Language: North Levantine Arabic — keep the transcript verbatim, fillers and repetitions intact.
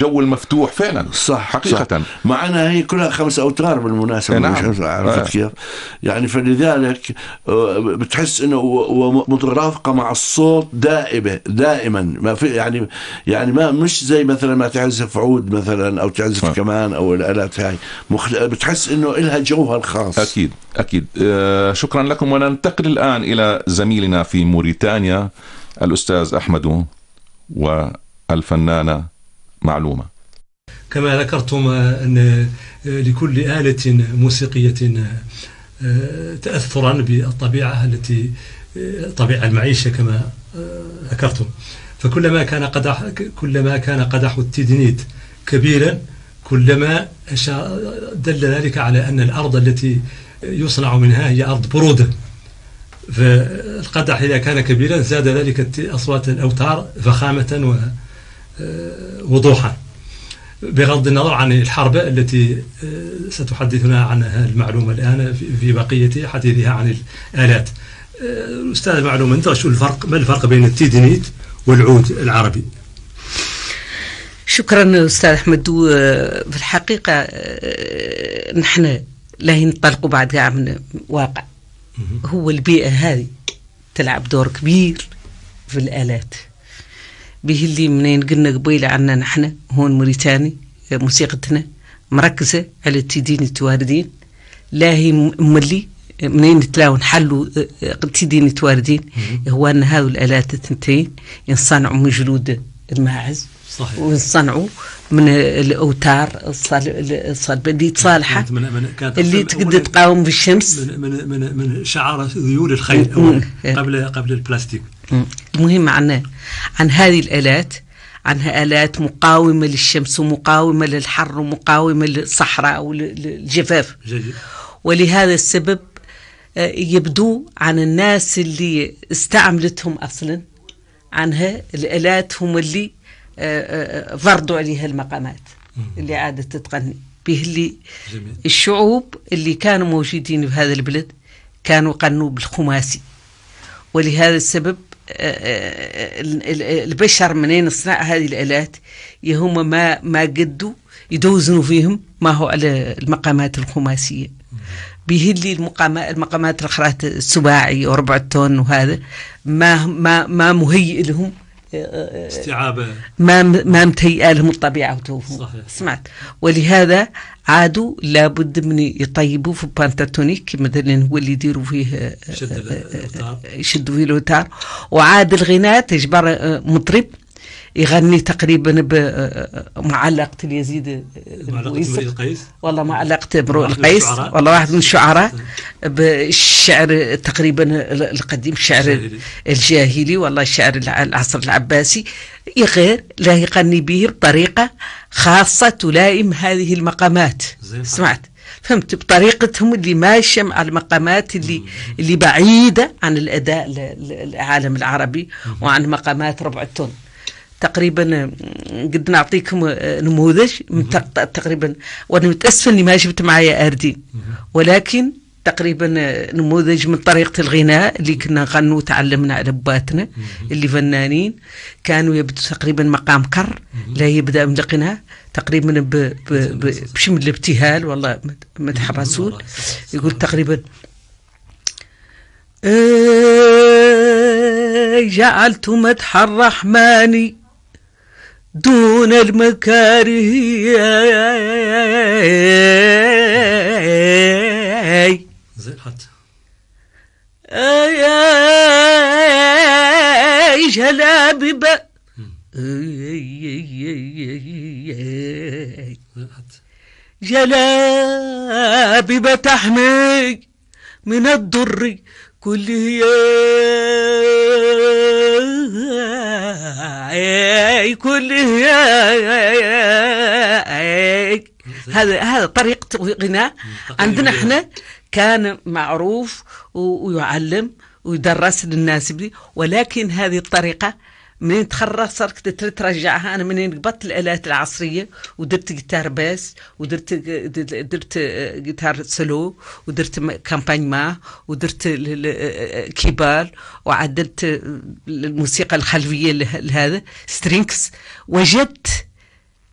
جو المفتوح فعلا. صح حقيقة صح. معنا هي كلها خمس أوتار بالمناسبة. نعم. مش عرفت آه. كيف يعني، فلذلك بتحس إنه مترافقة مع الصوت دائمة دائما، ما في يعني يعني ما مش زي مثلا ما تعزف عود مثلا أو تعزف آه. كمان أو الآلات هاي مخل... بتحس إنه إلها جوها الخاص. أكيد أكيد. آه شكرا لكم. وننتقل الآن إلى زميلنا في موريتانيا الأستاذ أحمد والفنانة معلومة. كما ذكرتم أن لكل آلة موسيقية تأثرا بالطبيعة التي طبيعة المعيشة كما ذكرتم، فكلما كان قدح كلما كان قدح التيدنيت كبيرا كلما دل ذلك على أن الأرض التي يصنع منها هي أرض برودة، فالقدح إذا كان كبيرا زاد ذلك أصوات الأوتار فخامة ووضوحا، بغض النظر عن الحرب التي ستحدثنا عنها المعلومة الآن في بقية حديثها عن الآلات. الأستاذ معلومة، أنت شو الفرق ما الفرق بين التيدنيت والعود العربي؟ شكرا أستاذ أحمد. في الحقيقة نحن لا ننطلق بعد من واقع، هو البيئة هذه تلعب دور كبير في الآلات، به اللي منين قلنا قبيل عنا نحن هون موريتاني موسيقتنا مركزة على التيدينيت واردين، لا هي مولي منين نتلاقوا نحلوا التيدينيت واردين، هو أن هذه الآلات الثنتين ينصنعوا من جلود الماعز وينصنعوا من الأوتار الصلبة اللي تصالحة اللي تقدر تقاوم بالشمس من من من, من شعر ذيول الخيل أول قبل قبل البلاستيك. المهم عنا عن هذه الآلات عنها آلات مقاومة للشمس ومقاومة للحر ومقاومة للصحراء والجفاف، ولهذا السبب يبدو عن الناس اللي استعملتهم أصلا عنها الآلات هم اللي فرضوا عليها المقامات اللي عادت تتغني به، اللي الشعوب اللي كانوا موجودين في هذا البلد كانوا قنوا بالخماسي، ولهذا السبب البشر منين يصنع هذه الآلات هم ما ما قدوا يدوزنوا فيهم ما هو على المقامات الخماسية، به اللي المقامات المقامات الأخرى السباعي وربع التون وهذا ما ما ما مهيئ لهم استيعاب، ما ما متهيئة لهم الطبيعة وتوفهم. سمعت، ولهذا عادوا لابد من يطيبوا في بانتاتونيك مثلا هو اللي يديروا فيه يشدوا فيه الأوتار، وعاد الغناء تجبر مطرب يغني تقريبا بمعلقة اليزيد القيس، والله معلقة امرؤ القيس، والله واحد من الشعراء بالشعر تقريبا القديم، الشعر الجاهلي، والله الشعر العصر العباسي، غير لا يغني به بطريقة خاصة تلائم هذه المقامات. سمعت، فهمت، بطريقتهم اللي ماشية مع المقامات اللي اللي بعيدة عن الأداء العالم العربي وعن مقامات ربع التون. تقريبا قد نعطيكم نموذج تقريبا، وانا متاسفه اني ما جبت معايا اردين، ولكن تقريبا نموذج من طريقه الغناء اللي كنا نغنوا وتعلمنا على اباتنا اللي فنانين كانوا يبدو تقريبا مقام كر، لا يبدا من الغناء تقريبا بشمل الابتهال، والله مدح الرسول يقول تقريبا جعلت مدح الرحمن دون المكاره زين حتى اي جلابيب جلابيب تحمي من الضر كله كله هذا هذا طريقة غناء عندنا احنا كان معروف ويعلم ويدرس للناس بي، ولكن هذه الطريقة منين تخرج صرت ترجعها. أنا منين قبضت الآلات العصرية ودرت جيتار باس ودرت درت جيتار سلو ودرت كامبانيما ودرت كيبال وعدلت الموسيقى الخلفية لهذا سترينكس، وجدت